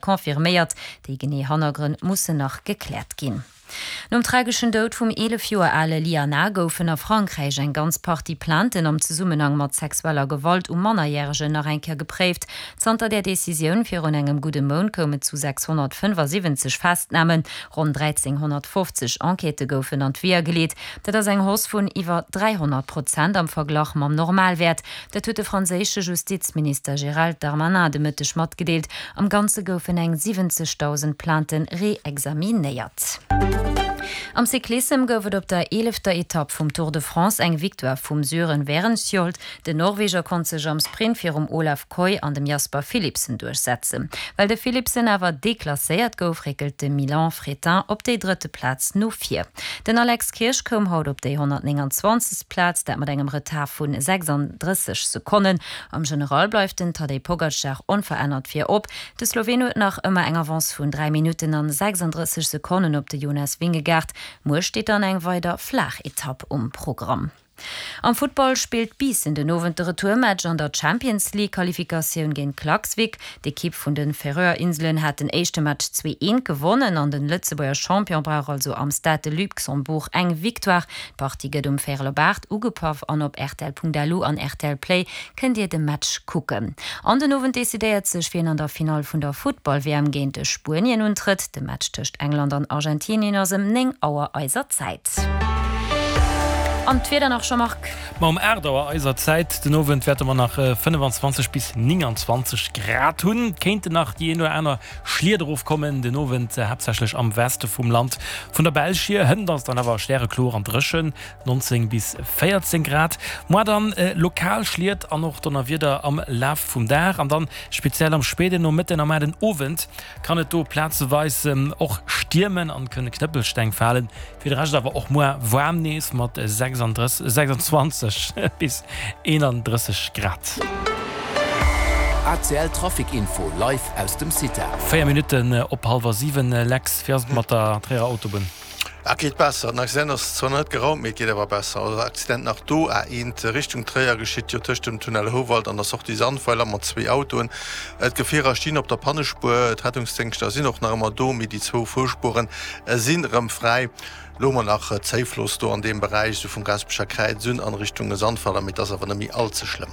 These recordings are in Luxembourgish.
Confirméiert. Déi genee Hannergrënn mussen nach gekläert ginn. Nom trageschen Doud vum 11 Joer ale Liana goufen a Frankräich eng ganz Partie Plainten am Zesummenhang mat sexueller Gewalt u Mannerjäregen nach eng Kéier gepréift. Zanter där Decisioun virun engem gudde Mount koum et zu 675 Festnamen. Ronn 1.350 Enquêtë goufen an d'Weeër geleet. Dat ass eng Hausse vun iwwer 300 Prozent am Verglach mam Normalwäert. Dat huet de franséische Justizminister Gérald Darmanin de Mëtteg matgedeelt. Am Ganze goufen eng 70.000 Plaintë reexaminéiert. Am Cyclissem gouf et op der eelefter Etapp vum Tour de France eng Victoire vum Sören Wærenskjold. Den Norweger konnt sech am Sprint virum Olav Kooij an dem Jasper Philipsen duerchsetzen. Well de Philipsen awer deklasséiert gouf, réckelt de Milan Fretin op déi drëtte Plaz no vir. Den Alex Kirsch koum haut op déi 129. Plaz, dat mat engem Retard vu 36 Sekonnen. Am General bleift den Tadej Pogacar onverännert virop. De Sloween huet nach ëmmer eng Avance vun 3 Minutten an 36 Sekonnen op de Jonas Vingegaard. Muer steet dann eng weider flaach Etapp um Programm. Am Futtball spillt Biissen den Owend de Retourmatch an der Champions League Qualifikatioun géint Klaksvik. D'Ekipp vun de Färöer Inselen hat den éischte Match 2, 1 gewonnen an den Lëtzebuerger Champion brauch also am Stade de Luxembourg eng Victoire. D'Partie gëtt um véierel op 8 ugepaff an op rtl.lu an rtl Play kënnt dir de Match kucken. An den Owend decidéiert sech wien an der Finall vun der Futtball-WM géint Spuenien untrëtt. De Match tëscht England an Argentinien ass ëm 9 Auer eiser Zäit. An d'Wieder nach, Jean-Marc? Ma um 8 Auer eiser Zäit den Owend wäerte mer nach 25 bis 29 Grad hunn. Et kéinten nach déi een oder aner Schliet erofkommen den Owend, haaptsächlech am Weste vum Land. Vun der Belsch hier hënt ass et dann awer stärekloer an dréchen, 19 bis 14 Grad. Moar dann lokal Schliet an och Donnerwieder am Laf vum Dag an dann speziell am spéiden Nomëtten a mar den Owend kann et do plazeweis och stiermen an kënne Knëppelsteng falen. Fir de Rescht awer och muer waarm nees mat 36, 26 bis 31 Grad. ACL Trafic Info live aus dem CITA. 4 Minutten op hallwer 7, Lex, wéi ass et mat der Tréierer Autobunn? Et geet besser. Den Accident ass zwar nach net geraumt, mee et geet awer besser. Also Accident nach do, A1 Richtung Tréier geschitt jo tëscht dem Tunnel Houwald an der Sortie Sandweiler mat zwee Autoen. D'Gefierer stinn op der Pannespuer, d'Rettungsdéngschter sinn och nach ëmmer do, mee déi zwou Fuerspueren sinn erëm fräi. Elo hu mer nach Zéifloss do an deem Beräich, esou vum Gaasperecher Kräiz un an Richtung Sandweiler, mee et ass awer net méi all ze schlëmm.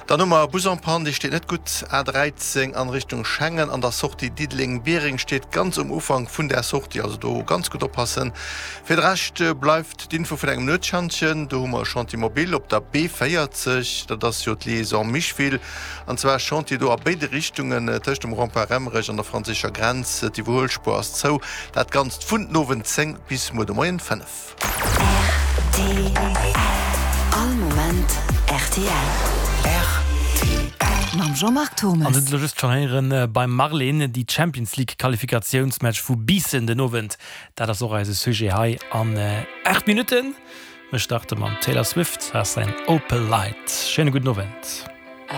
Dann hu mer e Bus en panne, dee steet net gutt, A13 an Richtung Schengen an der Sortie Diddeleng-Biereng, steet ganz um Ufank vun där Sortie, also do ganz gutt oppassen. Fir de Rescht bleift d'Info vun engem Nuetschantjen, do hu mer e Chantier mobile op der B40, dat ass jo d'Liaison Micheville, An zwar Chantier do a béide Richtungen, tëscht dem Rond-point Remmerech an der franséischer Grenz. D'Iwwerhuelspuer ass zou. Dat Ganzt vun den Owend 10 bis muer de Moien 5. Rtl. All Moment rtl. Rtl. Mam Jean-Marc Thommes. An hutt elo just schonn héieren beim Marlene, déi Champions League Qualifikatiounsmatch vu Biissen den Owend, dat ass och eise Sujet hei an 8 Minutten. Mir starte mam Taylor Swift a säin Opalite. Schéine gudden Owend.